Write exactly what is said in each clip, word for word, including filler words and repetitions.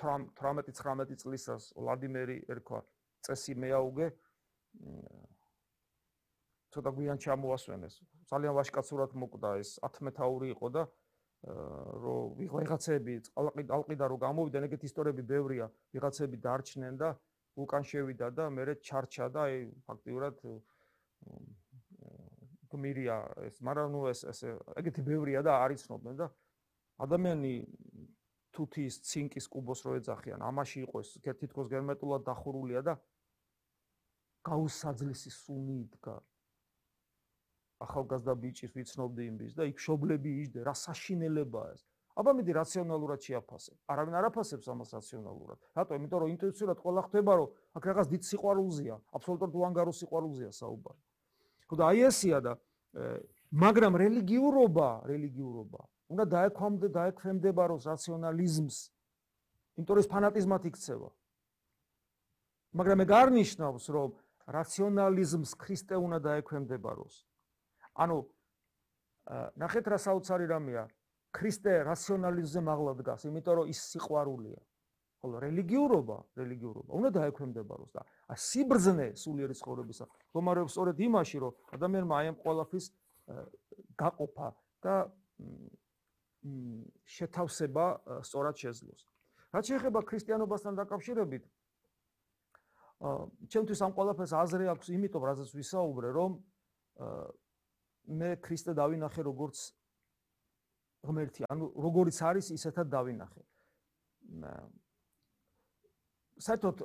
თვრამეტი ცხრამეტი წლისას ვლადიმერი ერქვა წესი მეაუგე ცოტა გვიან ჩამოასვენეს. ძალიან ვაშკაცურად მოკვდა ეს ათმეთაური იყო და რომ ვიღაცები ალყიდან რომ გამოვიდნენ, ეგეთი ისტორიები ბევრია, ვიღაცები დარჩნენ და ვულკან შევიდა და მერე ჩარჩა და აი ფაქტიურად გმირია ეს, მაგრამ ნუ ეს ეს ეგეთი ბევრია და არ იცნობდნენ და ადამიანი თუთის, ცინკის კუბოს რო ეძახიან, ამაში იყო ეს თითქოს გერმეტულად დახურულია და გაუსაძლისი სუნი იდგა. ახალგაზრდა ბიჭის ვიცნობდი იმის და იქ მშობლები იჯდა, რა საშინელებაა ეს. აბა მიდი რაციონალურად შეაფასებ. არავინ არ აფასებს ამას რაციონალურად. რატო? იმიტომ რომ ინტუიციურად ყველა ხდება რომ აქ რაღაც დიდ სიყვარულზეა, აბსოლუტურად უანგარო სიყვარულზეა საუბარი. ხო და აი ესია და მაგრამ რელიგიურობა, რელიგიურობა უნდა დაექვემდე დაექვემდებაროს რაციონალიზმს. იმიტომ რომ ეს ფანატიზმად იქცევა. მაგრამ ეგ არ ნიშნავს რომ რაციონალიზმს ქრისტე უნდა დაექვემდებაროს. ანუ ნახეთ რა საოცარი რამეა, ქრისტე რაციონალიზმზე მაღლა დგას, იმიტომ რომ ის სიყვარულია. ხოლო რელიგიურობა, რელიგიურობა უნდა დაექვემდებაროს და სიბრძნე სულიერი ცხოვრებისა მდგომარეობს სწორედ იმაში, რომ ადამიანმა აი ამ ყველაფრის გაყოფა და შეთავსება სწორად შეძლოს. რაც შეეხება ქრისტიანობასთან დაკავშირებით, ჩემთვის ამ ყველაფერს აზრი აქვს, იმიტომ რაზეც ვისაუბრე, რომ მე ქრისტე დავინახე როგორც ღმერთი, ანუ როგორიც არის, ისეთად დავინახე. საერთოდ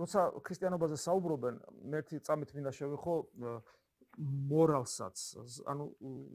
როცა ქრისტიანობაზე საუბრობენ, მე ერთი წამით მინდა შევეხო მორალსაც, ანუ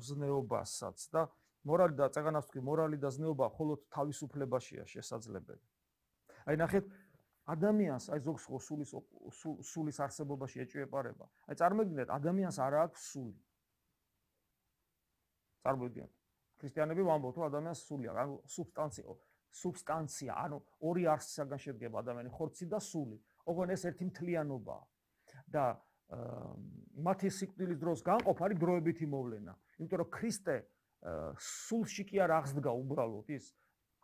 ზნეობასაც და მორალი და წეგანას თქვი, მორალი და ზნეობა მხოლოდ თავისუფლებაშია შესაძლებელი. აი ნახეთ, ადამიანს აი ზოგს ხო სულის სულის არსებობაში ეჭვეპარება. აი წარმოგიდგენთ, ადამიანს არ აქვს სული. წარმოგიდგენთ. ქრისტიანები ვამბობთ, რომ ადამიანს სული აქვს, ანუ სუბსტანცია, სუბსტანცია, ანუ ორი არსისაგან შედგება ადამიანი, ხორცი და სული. ოღონდ ეს ერთი მთლიანობაა. და მათი სიკვდილის დროს განყოფა არის დროებითი მოვლენა. იმიტომ რომ ქრისტე სულში კი არ აღსდგა უბრალოდ ის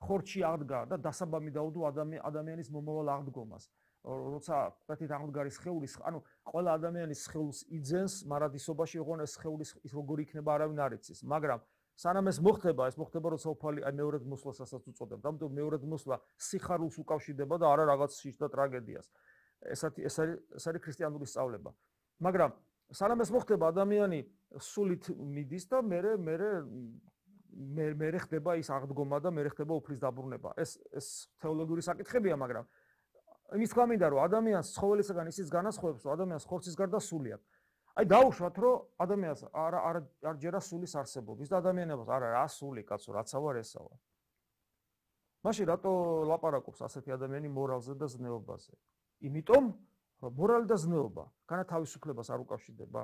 ხორცში აღდგა და დასაბამი დაუდო ადამიანის მომავალ აღდგომას. როცა კეთით აღმდგარი სხეულის, ანუ ყველა ადამიანის სხეულს იძენს მარადისობაში, ოღონდ ეს სხეულის ის როგორი იქნება არავინ არ იცის. მაგრამ სანამ ეს მოხდება, ეს მოხდება როცა უფალი აი მეორედ მოსვლასაც უწოდებთ. ამიტომ მეორედ მოსვლა სიხარულს უკავშირდება და არა რაღაც შიშ და ტრაგედიას. ესეთი ეს არის ეს არის ქრისტიანული სწავლება. მაგრამ სანამ ეს მოხდება, ადამიანი სულით მიდის და მერე მერე მერე ხდება ის აღდგომა და მერე ხდება უფლის დაბრუნება. ეს ეს თეოლოგიური საკითხებია, მაგრამ იმის თქმა მინდა რომ ადამიანს ცხოველისგან ისიც განასხვავებს, რომ ადამიანს ხორცის გარდა სული აქვს. აი დაუშვათ, რომ ადამიანს არ არ არ ჯერა სულის არსებობა. ის და ადამიანებს არა რა სული, კაცო, რაცა ვარ ესა ვარ. მაშინ რატო ლაპარაკობს ასეთი ადამიანი მორალზე და ზნეობაზე? იმიტომ რომ მორალი და ზნეობა განა თავისუფლებას არ უკავშირდება.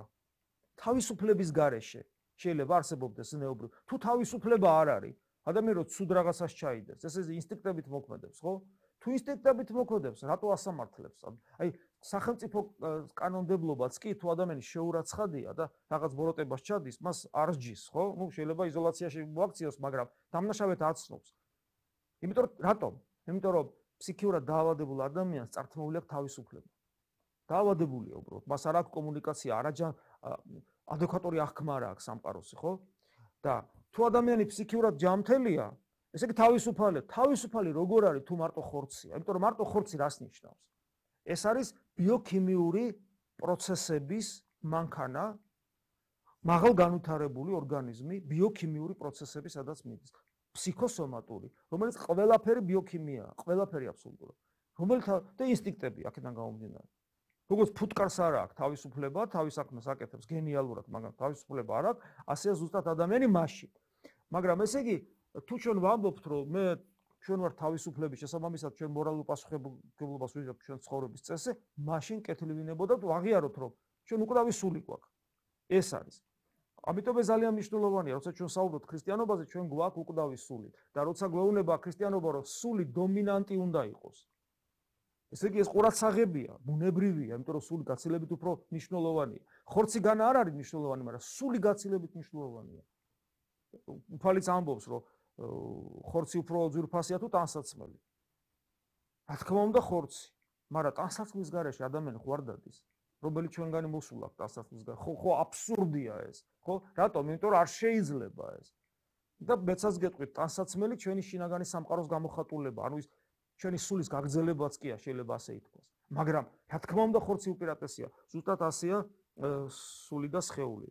თავისუფლების გარეშე შეიძლება არსებობდეს ზნეობრივ. თუ თავისუფლება არ არის, ადამიანი რო ცუდ რაღაცას ჩაიდებს, ეს ეს ინსტინქტებით მოქმედებს, ხო? თუ ინსტინქტებით მოქმედებს, რატო ასამართლებს? აი, სახელმწიფო კანონმდებლობაც კი თუ ადამიანი შეურაცხადია და რაღაც ბოროტებას ჩადის, მას არ სჯის, ხო? ნუ შეიძლება იზოლაციაში მოაქციოს, მაგრამ დამნაშავედ აცნობს. იმიტომ რომ რატომ? იმიტომ რომ ფსიქიურად დაავადებულ ადამიანს წართმეული აქვს თავისუფლება. დაავადებულია უბრალოდ, მას არ აქვს კომუნიკაცია, არაჯან ადეკვატური აღქმა არ აქვს სამყაროსი, ხო? და თუ ადამიანი ფსიქიურად ჯანმრთელია, ესე იგი თავისუფალი, თავისუფალი როგორ არის თუ მარტო ხორცია? იმიტომ რომ მარტო ხორცი რას ნიშნავს? ეს არის ბიოქიმიური პროცესების მანქანა, მაღალ განვითარებული ორგანიზმი, ბიოქიმიური პროცესები სადაც მიდის. ფსიქოსომატური, რომელიც ყველაფერი ბიოქიმიაა, ყველაფერი აბსოლუტურად. რომელთა და ინსტინქტები აქედან გამომდინარე. როგორც ფუტკარს არ აქვს თავისუფლება, თავის საქმეს აკეთებს გენიალურად, მაგრამ თავისუფლება არ აქვს, ასეა ზუსტად ადამიანი მასში. მაგრამ ესე იგი, თუ ჩვენ ვამბობთ, რომ მე ჩვენ ვართ თავისუფლების შესაბამისად, ჩვენ მორალურ პასუხისმგებლობას ვიღებთ ჩვენ ცხოვრების წესზე, მაშინ კეთილი ვინებოდა თუ აღიაროთ, რომ ჩვენ უკვდავი სული გვაქვს. ეს არის. ამიტომ ეს ძალიან მნიშვნელოვანია, როცა ჩვენ საუბრობთ ქრისტიანობაზე, ჩვენ გვაქვს უკვდავი სული და როცა გვეუბნება ქრისტიანობა, რომ სული დომინანტი უნდა იყოს. ესე იგი ეს ყურადსაღებია, ბუნებრივია, იმიტომ რომ სული გაცილებით უფრო მნიშვნელოვანია. ხორცი განა არ არის მნიშვნელოვანი, მაგრამ სული გაცილებით მნიშვნელოვანია. უფალიც ამბობს, რომ ხორცი უფრო ძვირფასია თუ ტანსაცმელი. რა თქმა უნდა ხორცი, მაგრამ ტანსაცმლის გარეშე ადამიანი ხوار დადის. Რომელიც ჩვენგანი მოსულა ტანსაცმლის გარეშე. ხო, ხო აბსურდია ეს. ხო, რატომ? იმიტომ რომ არ შეიძლება ეს. და მეცაც გეტყვით, ტანსაცმელი ჩვენი შინაგანი სამყაროს გამოხატულება, ანუ ის ჩვენი სულის გაგრძელებაც კი შეიძლება ასე ითქვას. მაგრამ რა თქმა უნდა ხორცი უპირატესია. ზუსტად ასეა სული და სხეული.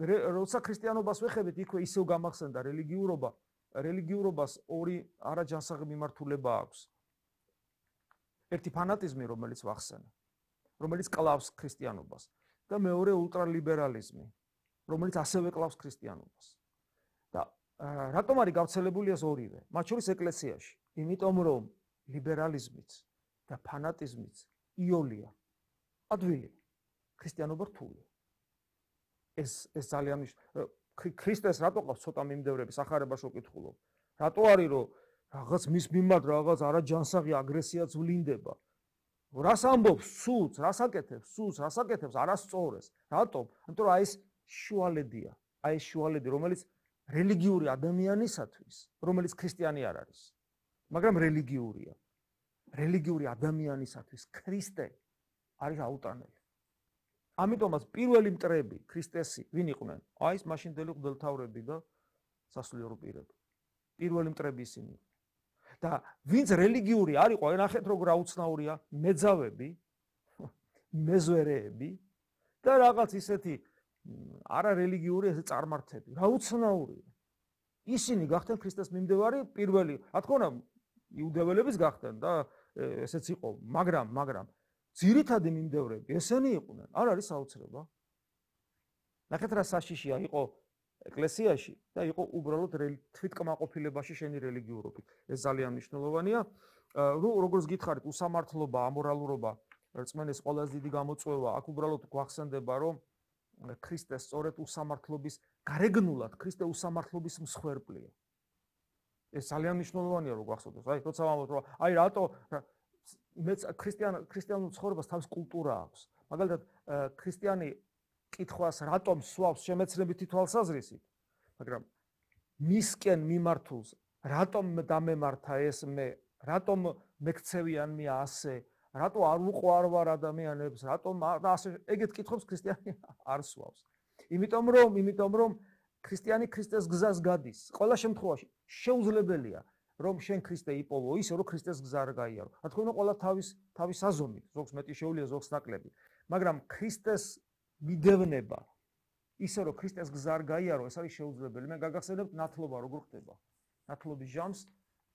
როცა ქრისტიანობას ვეხებით, იქვე ისევ გამახსენდა რელიგიურობა, რელიგიურობას ორი არაჯანსაღი მიმართულება აქვს. ერთი ფანატიზმი, რომელიც ვახსენე, რომელიც კლავს ქრისტიანობას და მეორე ულტრალიბერალიზმი, რომელიც ასევე კლავს ქრისტიანობას. და რატომ არის გავრცელებული ეს ორივე? მათ შორის ეკლესიაში, იმიტომ რომ ლიბერალიზმიც და ფანატიზმიც იოლია, ადვილია, ქრისტიანობა რთულია. ეს ეს ძალიან ქრისტეს რატო ყავს ცოტა მიმდევრები სახარებაში ვკითხულობ. რატო არის რომ რაღაც მის მიმართ რაღაც არაჯანსაღი აგრესიაც ვლინდება. რას ამბობს სულს, რას აკეთებს სულს, რას აკეთებს არასწორეს. რატომ? იმიტომ რომ აი ეს შუალედია, აი ეს შუალედი, რომელიც რელიგიური ადამიანისათვის, რომელიც ქრისტიანი არ არის, მაგრამ რელიგიურია. რელიგიური ადამიანისათვის ქრისტე არის აუტანელი. ამიტომაც პირველი მტრები ქრისტესი ვინ იყვნენ? აი ეს მაშინდელი მღვდელმთავრები და სასულიერო პირები. პირველი მტრები ისინი. და ვინც რელიგიური არ იყო, ნახეთ როგორ აუცნაურია, მეძავები, მეზვერეები და რაღაც ისეთი არა რელიგიური ეს წარმართები. რა უცნაურია. ისინი გახდნენ ქრისტეს მიმდევარი პირველი. რა თქმა უნდა, იუდეველების გახდნენ და ესეც იყო, მაგრამ, მაგრამ ძირითადი მიმდევრები ესენი იყვნენ. არ არის საოცრება. ნახეთ რა საშიშია იყო ეკლესიაში და იყო უბრალოდ თვითკმაყოფილებაში შენი რელიგიურობით. ეს ძალიან მნიშვნელოვანია. როგორც გითხარით, უსამართლობა, ამორალურობა, რწმენის ყველაზე დიდი გამოწვევა, აქ უბრალოდ გვახსენდება, რომ ქრისტე სწორედ უსამართლობის გარეგნულად, ქრისტე უსამართლობის მსხვერპლია. ეს ძალიან მნიშვნელოვანია, რომ გვახსოვდეს. აი, როცა ვამბობთ, რომ აი რატო მეც ქრისტიან ქრისტიანულ ცხოვრებას თავის კულტურა აქვს. მაგალითად, ქრისტიანი კითხვას რატომ სვავს შემეცნებითი თვალსაზრისით, მაგრამ მისკენ მიმართულს რატომ დამემართა ეს მე, რატომ მექცევიან მე ასე, რატო არ უყვარ ვარ ადამიანებს, რატომ და ასე ეგეთ კითხვებს ქრისტიანი არ სვავს. იმიტომ რომ, იმიტომ რომ ქრისტიანი ქრისტეს გზას გადის. ყველა შემთხვევაში შეუძლებელია რომ შენ ქრისტე იპოვო ისე რომ ქრისტეს გზა არ გაიარო. რა თქმა უნდა, ყველა თავის თავის აზომით, ზოგს მეტი შეუძლია, ზოგს ნაკლები. მაგრამ ქრისტეს მიდევნება ისე რომ ქრისტეს გზა არ გაიარო, ეს არის შეუძლებელი. მე გაგახსენებთ ნათლობა როგორ ხდება. ნათლობის ჟამს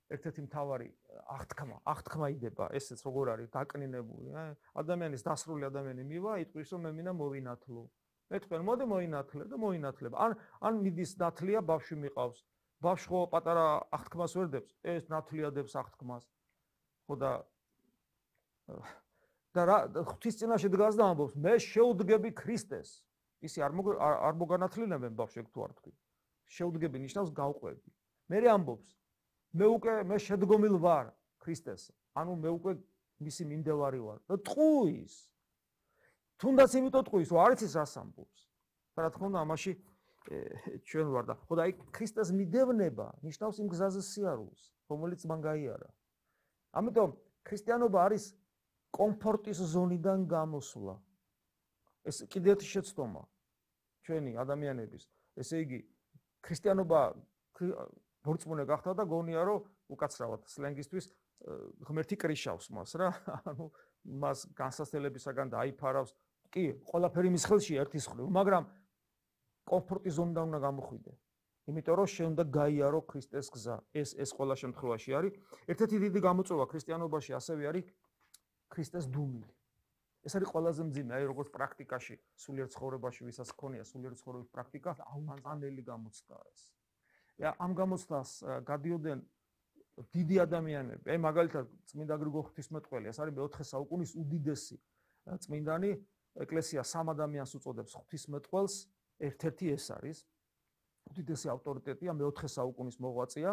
ერთ-ერთი მთავარი აღთქმა, აღთქმა იდება, ესეც როგორ არის დაკნინებული, ადამიანის დასრული ადამიანი მივა, იტყვის რომ მე მინდა მოვინათლო. მე თქვენ მოდი მოინათლე და მოინათლებ. ან ან მიდის ნათლია, ბავშვი მიყავს. ბავშვი ხო პატარა აღთქმას ვერ დებს, ეს ნათლიადებს აღთქმას. ხო და და რა ღვთის წინაშე დგას და ამბობს, მე შეუდგები ქრისტეს. ისი არ არ მოგანათლინებენ ბავშვი თუ არ თქვი. შეუდგები ნიშნავს გავყვები. მე ამბობს, მე უკვე მე შედგომილ ვარ ქრისტეს. ანუ მე უკვე მისი მიმდევარი ვარ და ტყუის. თუნდაც იმიტომ ტყუის, რომ არ იცის რას ამბობს. და რა თქმა უნდა, ამაში ჩვენ ვარ და ხო და აი ქრისტეს მიდევნება ნიშნავს იმ გზაზე სიარულს, რომელიც მან გაიარა. ამიტომ ქრისტიანობა არის კომფორტის ზონიდან გამოსვლა. ეს კიდევ ერთი შეცდომა ჩვენი ადამიანების. ესე იგი, ქრისტიანობა ბორწმუნე გახდა და გონია რომ უკაცრავად სლენგისთვის ღმერთი კრიშავს მას რა. ანუ მას განსასწრებისაგან დაიფარავს. კი, ყველაფერი მის ხელშია ერთის მხრივ, მაგრამ კომფორტის ზონიდან უნდა გამოხვიდე. იმიტომ რომ შენ უნდა გაიარო ქრისტეს გზა. ეს ეს ყველა შემთხვევაში არის. ერთ-ერთი დიდი გამოწვევა ქრისტიანობაში ასევე არის ქრისტეს დუმილი. ეს არის ყველაზე მძიმე, აი როგორც პრაქტიკაში, სულიერ ცხოვრებაში, ვისაც ჰქონია სულიერ ცხოვრების პრაქტიკა, აუანელი გამოცდა ეს. და ამ გამოცდას გადიოდნენ დიდი ადამიანები. აი მაგალითად, წმინდა გრიგოლ ღვთისმეტყველი, ეს არის მეოთხე საუკუნის უდიდესი წმინდანი, ეკლესია სამ ადამიანს უწოდებს ღვთისმეტყველს, ერთ-ერთი ეს არის. უდიდესი ავტორიტეტია, მეოთხე საუკუნის მოღვაწეა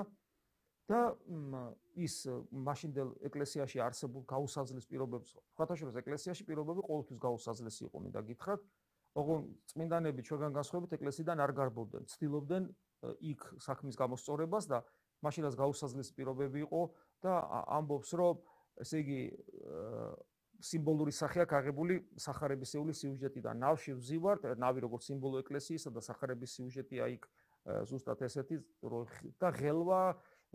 და ის მაშინდელ ეკლესიაში არსებულ გაუსაზლის პირობებს, ხათაშორის ეკლესიაში პირობები ყოველთვის გაუსაზლესი იყო, მინდა გითხრათ. ოღონდ წმინდანები ჩვენგან განსხვავებით ეკლესიიდან არ გარბოვდნენ, ცდილობდნენ იქ საქმის გამოსწორებას და მაშინაც გაუსაზლესი პირობები იყო და ამბობს, რომ ესე იგი სიმბოლური სახე აქვს აღებული სახარებისეული სიუჟეტიდან. ნავში ვზივართ, ნავი როგორც სიმბოლო ეკლესიისა და სახარების სიუჟეტი აი ზუსტად ესეთი და ღელვა,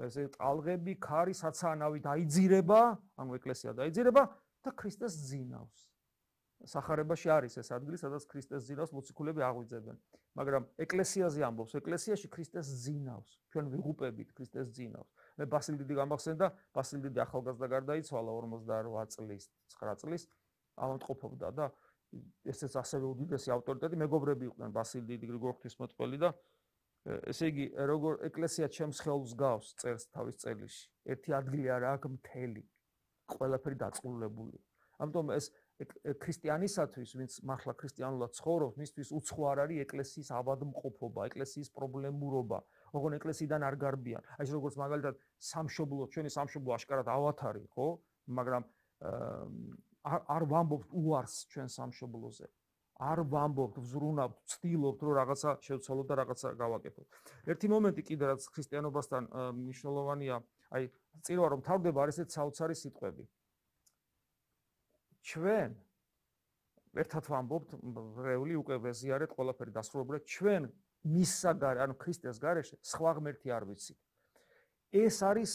ესე ტალღები, ქარი, საცაა ნავი დაიძირება, ანუ ეკლესია დაიძირება და ქრისტეს ძინავს. სახარებაში არის ეს ადგილი, სადაც ქრისტეს ძინავს მოციქულები აღვიძებენ. მაგრამ ეკლესიაზე ამბობს, ეკლესიაში ქრისტეს ძინავს. ჩვენ ვიღუპებით ქრისტეს ძინავს. მე ბასილ დიდი გამახსენდა, ბასილ დიდი ახალგაზრდა გარდაიცვალა ორმოცდაორ წლის, ცხრა წლის, ავადმყოფობდა და ესეც ასევე უდიდესი ავტორიტეტი, მეგობრები იყვნენ ბასილ დიდი, გრიგორ ღვთისმეტყველი და ესე იგი, როგორ ეკლესია ჩემს ხელს გავს წერს თავის წერიში. ერთი ადგილი არ აქვს მთელი. ყველაფერი დაწყლულებული. ამიტომ ეს ქრისტიანისათვის, ვინც მართლა ქრისტიანულად ცხოვრობს, მისთვის უცხო არ არის ეკლესიის ავადმყოფობა, ეკლესიის პრობლემურობა. ოღონ ეკლესიიდან არ გარბიან. აი ეს როგორც მაგალითად სამშობლო, ჩვენი სამშობლო აშკარად ავათარი, ხო? მაგრამ არ ვამბობთ უარს ჩვენ სამშობლოზე. არ ვამბობთ, ვზრუნავთ, ვცდილობთ, რომ რაღაცა შევცვალოთ და რაღაცა გავაკეთოთ. ერთი მომენტი კიდე რაც ქრისტიანობასთან მნიშვნელოვანია, აი წირვა რომ თავდება არის ეს საოცარი სიტყვები. ჩვენ ერთად ვამბობთ, რეული უკვე ვეზიარეთ, ყველაფერი დასრულებულად, ჩვენ მისსაგარე, ანუ ქრისტეს გარეშე სხვა ღმერთი არ ვიცით. ეს არის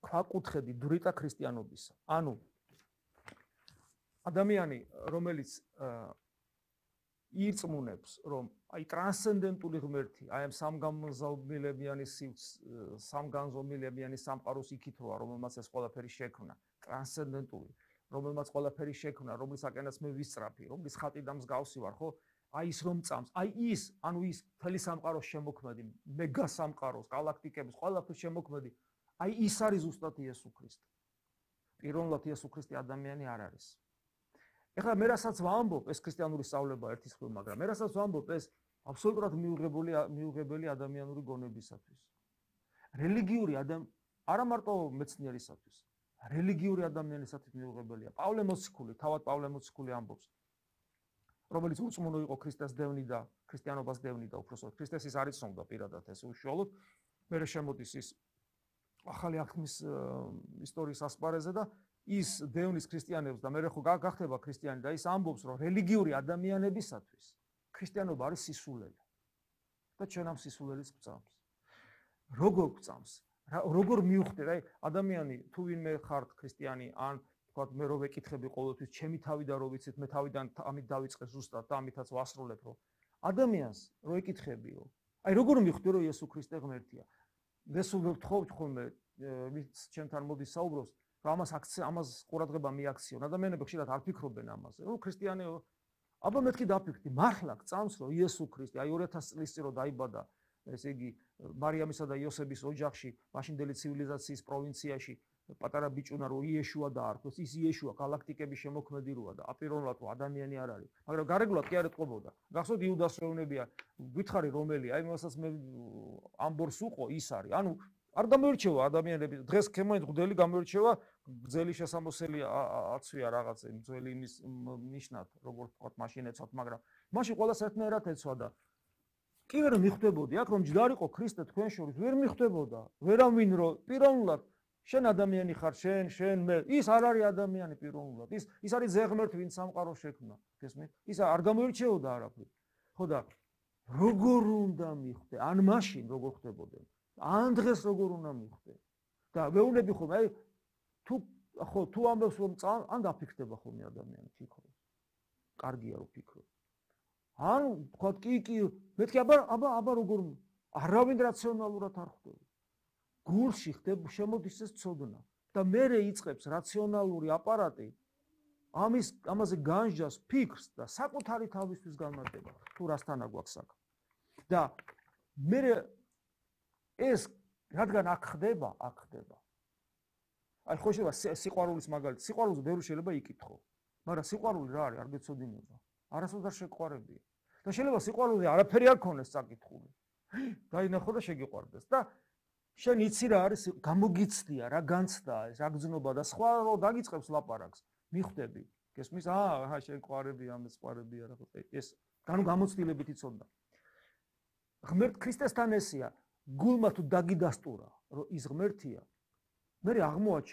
ქვაკუთხედი დრიტა ქრისტიანობისა. ანუ ადამიანი, რომელიც ირწმუნებს, რომ აი ტრანსცენდენტული ღმერთი, აი ამ სამგანზომილებიანი სამგანზომილებიანი სამყაროს იქით როა, რომელმაც ეს ყველაფერი შექმნა, ტრანსცენდენტული, რომელმაც ყველაფერი შექმნა, რომლისაკენაც მე ვისწრაფი, რომლის ხატი და მსგავსი ვარ, ხო? აი ის რომ წამს, აი ის, ანუ ის მთელი სამყაროს შემოქმედი, მეგა სამყაროს, galaktikების, ყველაფრის შემოქმედი, აი ის არის ზუსტად იესო ქრისტე. პიროვნულად იესო ქრისტე ადამიანი არ არის. ეხლა მე რასაც ვამბობ, ეს ქრისტიანული სწავლება ერთის მხრივ, მაგრამ მე რასაც ვამბობ, ეს აბსოლუტურად მიუღებელი მიუღებელი ადამიანური გონებისათვის. რელიგიური ადამ არა მარტო მეცნიერისათვის, რელიგიური ადამიანისათვის მიუღებელია. პავლე მოციქული, თავად პავლე მოციქული ამბობს, რომელიც უწმუნო იყო ქრისტეს დევნი და ქრისტიანობას დევნი და უпроსოდ ქრისტეს ის არ იცნობდა პირადად ეს უშუალოდ. მე შემოდის ის ახალი აღთქმის ისტორიის ასპარეზზე და ის დევნის ქრისტიანებს და მე ხო გახდება ქრისტიანი და ის ამბობს, რომ რელიგიური ადამიანებისათვის ქრისტიანობა არის სისულელე. და ჩვენ ამ სისულელეს გვწამს. როგორ გვწამს? როგორ მივხვდეთ? აი ადამიანი თუ ვინმე ხართ ქრისტიანი ან თქვათ მე რო ვეკითხები ყოველთვის ჩემი თავიდან რო ვიცით მე თავიდან ამით დავიწყე ზუსტად და ამითაც ვასრულებ რომ ადამიანს რო ეკითხებიო აი როგორ მივხვდი რომ იესო ქრისტე ღმერთია მე სულ ვთხოვთ ხოლმე ვინც ჩემთან მოდის საუბრობს რომ ამას ამას ყურადღება მიაქციონ ადამიანები ხშირად არ ფიქრობენ ამაზე რომ ქრისტიანეო აბა მეთქი დაფიქრდი მართლა გწამს რომ იესო ქრისტე აი ორი ათასი წლის წინ რო დაიბადა ესე იგი მარიამისა და იოსების ოჯახში მაშინდელი ცივილიზაციის პროვინციაში პატარა ბიჭუნა რო იეშუა დაარქვეს ის იეშუა galaktikების შემოქმედი როა და აპირონულად რო ადამიანი არ არის მაგრამ გარეგულად კი არ ეთყობოდა გახსოვთ იუდას ეუბნებია გითხარი რომელია აი მასაც მე ამბორს უყო ის არის ანუ არ გამოირჩევა ადამიანები დღეს ქემოინთ გდელი გამოირჩევა გძელი შესამოსელი აცვია რაღაც ძველი იმის ნიშნად როგორც თქვა მაშინ ეცვათ მაგრამ მაშინ ყველა საერთოდ ეცვა და კი ვერ მიხვდებოდი აქ რომ ჯდარიყო ქრისტე თქვენ შორის ვერ მიხვდებოდა ვერავინ რო პიროვნულად შენ ადამიანი ხარ შენ შენ მე ის არ არის ადამიანი პიროვნულად ის ის არის ზეღმერთ ვინც სამყაროს შექმნა გესმით ის არ გამოირჩეოდა არაფრით ხო და როგორ უნდა მიხვდე ან მაშინ როგორ ხდებოდნენ ან დღეს როგორ უნდა მიხვდე და მეუნები ხომ აი თუ ხო თუ ამბობს რომ ან დაფიქრდება ხოლმე ადამიანი ფიქრობს კარგია რომ ფიქრობს ან თქვა კი კი მეთქი აბა აბა აბა როგორ არავინ რაციონალურად არ ხდება გულში ხდება შემოდის ეს ცოდნა და მერე იწყებს რაციონალური აპარატი ამის ამაზე განსჯას ფიქრს და საკუთარი თავისთვის განმარტება თუ რასთან აგვაქვს საქმე და მერე ეს რადგან აქ ხდება აქ ხდება აი ხო შეიძლება სიყვარულის მაგალითი სიყვარულზე ბევრი შეიძლება იკითხო მაგრამ სიყვარული რა არის არ გეცოდინება არასოდეს არ შეყვარებია და შეიძლება სიყვარულზე არაფერი არ ქონდეს საკითხული დაინახო და შეგიყვარდეს და შენ იცი რა არის გამოგიცდია რა განცდა ეს რა გზნობა და სხვა რო დაგიწყებს ლაპარაკს მიხვდები გესმის აა შენ ყვარები ამის ყვარები არა ხო ეს განუ გამოცდილებით იცოდა ღმერთ ქრისტესთან ესია გულმა თუ დაგიდასტურა რომ ის ღმერთია მე აღმოაჩენ